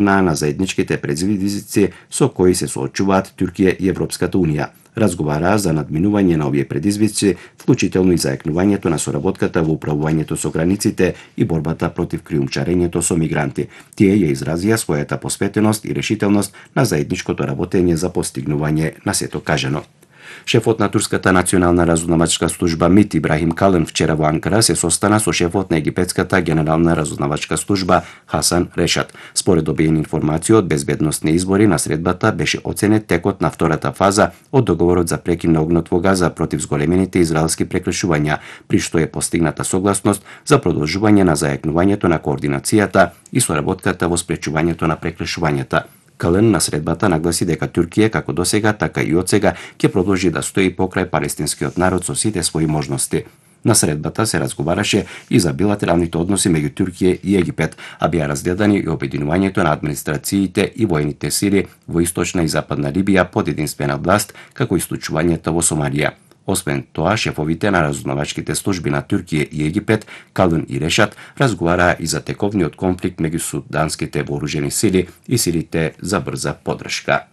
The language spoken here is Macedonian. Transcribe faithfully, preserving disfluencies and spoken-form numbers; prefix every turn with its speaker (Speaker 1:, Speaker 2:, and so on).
Speaker 1: на на заедничките предизвици со кои се соочуваат Туркија и Европската унија. Разговараа за надминување на овие предизвици, вклучително и за екнувањето на соработката во управувањето со границите и борбата против криумчарењето со мигранти. Тие ја изразија својата посветеност и решителност на заедничкото работење за постигнување на сето кажано. Шефот на турската национална разузнавачка служба МИТ Ибрахим Калын вчера во Анкара се состана со шефот на египетската генерална разузнавачка служба Хасан Решат. Според добиени информации од безбедносни избори на средбата беше оценет текот на втората фаза од договорот за прекин на огнот во Газа против зголемените израелски прекршувања, при што е постигната согласност за продолжување на заекнувањето на координацијата и соработката во спречувањето на прекршувањата. Кален на средбата нагласи дека Туркија како досега, така и одсега ќе продолжи да стои покрај палестинскиот народ со сите своји можности. На средбата се разговараше и за билатералните односи меѓу Туркија и Египет, а беа разгледани и обединувањето на администрациите и воените сили во источна и западна Либија под единствена власт, како и случувањето во Сомалија. Освен тоа, шефовите на разузнавачките служби на Туркија и Египет, Калун и Решат, разговараа и за тековниот конфликт меѓу суданските вооружени сили и силите за брза поддршка.